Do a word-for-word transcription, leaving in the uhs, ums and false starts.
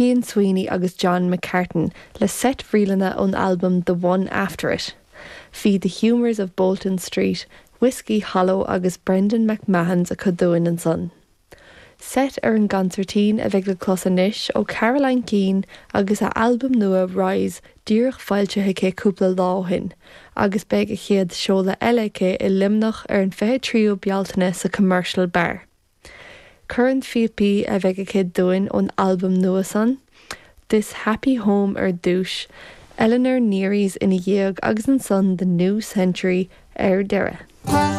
Cian Sweeney agus John McCartan le seit ríleanna ón albam The One After It. Bhí The Humours of Bolton Street, Whiskey Hollow agus Brendan McMahon's acu dúinn ansan. Seit ar an gconsairtín a bheidh le clos anois ó Caroline Keane agus a albam nua Rise díreach foilsithe aici cúpla lá ó shin, agus beidh a chéad seoladh eile aici i Luimneach ar an fiche tríú Bealtaine sa Commercial Bar. Corn phíopaí a bheidh aici dúinn ón albam nua san, This Happy Home ar dtús, Eleanor Neary's ina dhiaidh agus ansan The New Century ar deireadh.